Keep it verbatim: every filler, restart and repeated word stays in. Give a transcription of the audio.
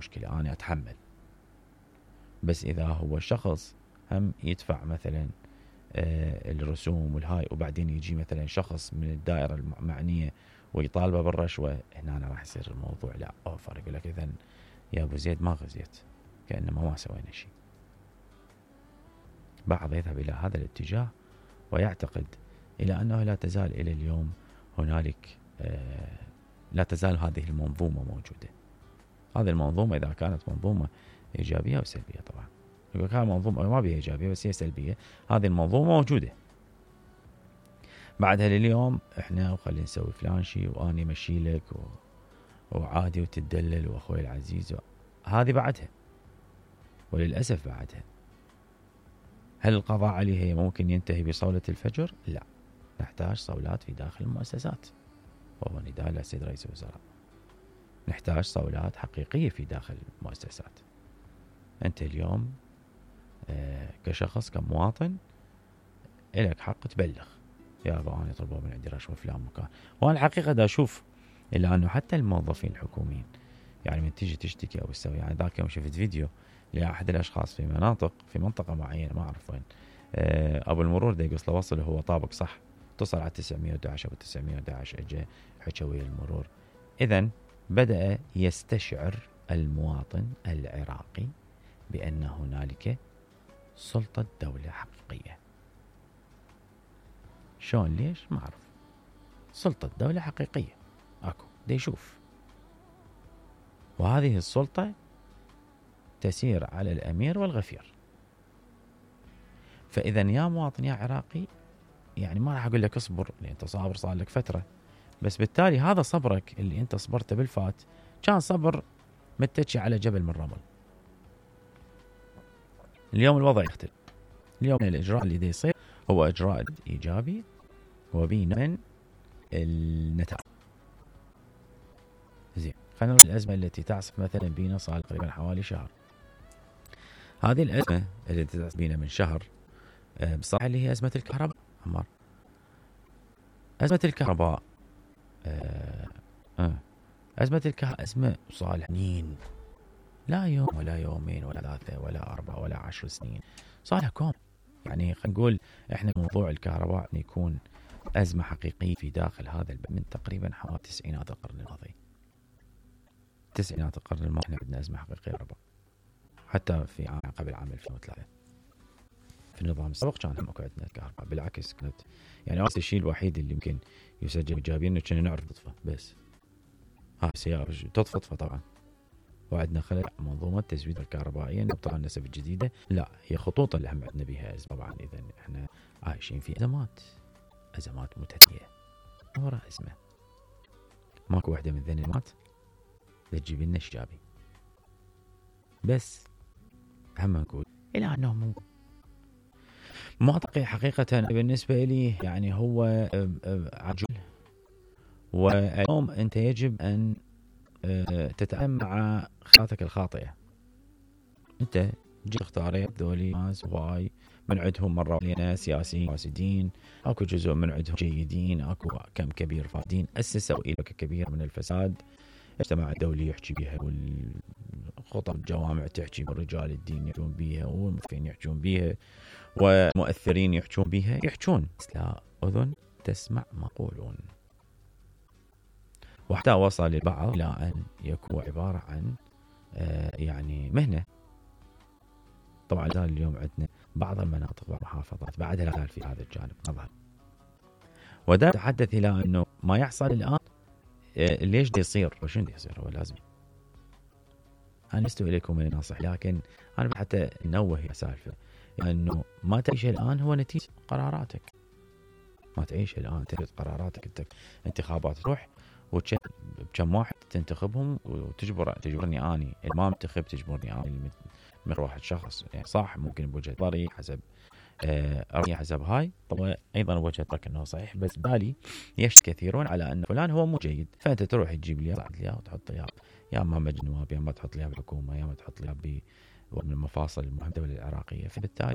مشكلة أنا أتحمل. بس إذا هو شخص هم يدفع مثلا آه الرسوم والهاي وبعدين يجي مثلا شخص من الدائرة المعنية ويطالبه بالرشوة، هنا أنا راح يصير الموضوع لا أوفر. يقول لك إذن يا أبو زيد ما غزيت، كأنما ما سوينا شيء. بعض يذهب إلى هذا الاتجاه ويعتقد إلى أنه لا تزال إلى اليوم هنالك آه لا تزال هذه المنظومة موجودة. هذه المنظومة إذا كانت منظومة إيجابية أو سلبية، طبعا يقول كان منظومة ما بها إيجابية بس هي سلبية، هذه المنظومة موجودة. بعدها لليوم إحنا وخلي نسوي فلان شيء وأني مشي لك و... وعادي وتدلل وأخوي العزيز و... هذه بعدها، وللأسف بعدها. هل القضاء عليها ممكن ينتهي بصولة الفجر؟ لا، نحتاج صولات في داخل المؤسسات، وهو نداء للسيد رئيس الوزراء. نحتاج صولات حقيقية في داخل المؤسسات. أنت اليوم آه كشخص كمواطن إلك حق تبلغ، يا أبا أنا يطلبوا من عندي رشوة فلان مكان. وأنا الحقيقة دا أشوف إلا أنه حتى الموظفين الحكوميين يعني من تيجي تشتكي أو تسوي، يعني ذاك يوم شفت فيديو لأحد الأشخاص في مناطق في منطقة معينة ما أعرف وين، آه أبو المرور دا يقص له وصل هو طابق صح، اتصل على تسعمية وأحد عشر أو تسعمية وأحد عشر أجا حكى ويا المرور. إذن بدأ يستشعر المواطن العراقي بأن هنالك سلطة دولة حقيقية. شلون ليش ما أعرف، سلطة دولة حقيقية أكو دا يشوف، وهذه السلطة تسير على الأمير والغفير. فإذا يا مواطن يا عراقي يعني ما راح أقول لك اصبر لأن أنت صابر صار لك فترة، بس بالتالي هذا صبرك اللي أنت صبرته بالفات كان صبر متكي على جبل من رمل. اليوم الوضع يختلف، اليوم الإجراء اللي دا يصير هو إجراء إيجابي وبين من النتائج. زين، خلينا نروح الأزمة التي تعصف مثلا بينا صار تقريبا حوالي شهر. هذه الأزمة التي تعصف بينا من شهر أه بصراحة اللي هي أزمة الكهرباء. عمار، أزمة الكهرباء أه أه أزمة الكهرباء أزمة صالح سنين، لا يوم ولا يومين ولا ثلاثة ولا أربعة ولا عشر سنين، صالح كوم. يعني خلينا نقول إحنا موضوع الكهرباء يكون أزمة حقيقية في داخل هذا البلد من تقريبا حوالي تسعينات القرن الماضي. تسعينات القرن الماضي احنا عندنا أزمة حقيقية كهرباء، حتى في عام قبل عام ألفين وثلاثة في النظام السابق كان هم عندنا الكهرباء. بالعكس كانت يعني أصل الشيء الوحيد اللي ممكن يسجل إيجابيا إنه كنا نعرف نطفى بس. ها سيارة تطفى تطفى طبعا. وعندنا خلل منظومة تزويد الكهربائية طبعا النسب الجديدة لا هي خطوط اللي هم عندنا بها أزمة. طبعا إذا احنا عايشين في أزمات أزمات متتالية وراء أزمة، ماكو واحدة من ذني الأزمات تجيب لنا إيجابي. بس هم نقول إلى أنه ممكن منطقي حقيقة بالنسبة لي يعني هو عجول. واليوم أنت يجب أن تتعامل مع خياراتك الخاطئة. أنت جيت اختاريت ذولي ناس واي من عندهم مرة لنا سياسيين فاسدين، أكو جزء من عندهم جيدين، أكو كم كبير فاسدين أسسوا إلى كبير من الفساد. اجتماع الدولي يحكي بها والخطب الجوامع تحكي بالرجال الدين يحكون بها والمفتين يحكون بها والمؤثرين يحكون بها يحكون، بس لا أذن تسمع ما يقولون. وحتى وصل البعض إلى أن يكون عبارة عن آه يعني مهنة. طبعا اليوم عندنا بعض المناطق والمحافظات بعدها لا زال في هذا الجانب نظهر. ودا تحدث إلى أنه ما يحصل الآن آه ليش دي يصير وشن دي يصير. هو لازم أنا لست إليكم من ناصح، لكن أنا حتى نوه يا سالفة أنه ما تعيش الآن هو نتيجة قراراتك. ما تعيش الآن تجد قراراتك. انت انتخابات تروح وكم واحد تنتخبهم وتجبر تجبرني اني ما منتخب تجبرني اني من واحد شخص يعني صح ممكن بوجهة نظري حسب آه حسب هاي طبعا ايضا وجهة نظرك انه صحيح، بس بالي يشت كثيرون على ان فلان هو مو جيد، فانت تروح تجيب لي لي وتحط لي يا اما مجلس النواب يا اما تحط لي بالحكومه يا اما تحط لي من المفاصل المهمه الدوله العراقيه. فبالتالي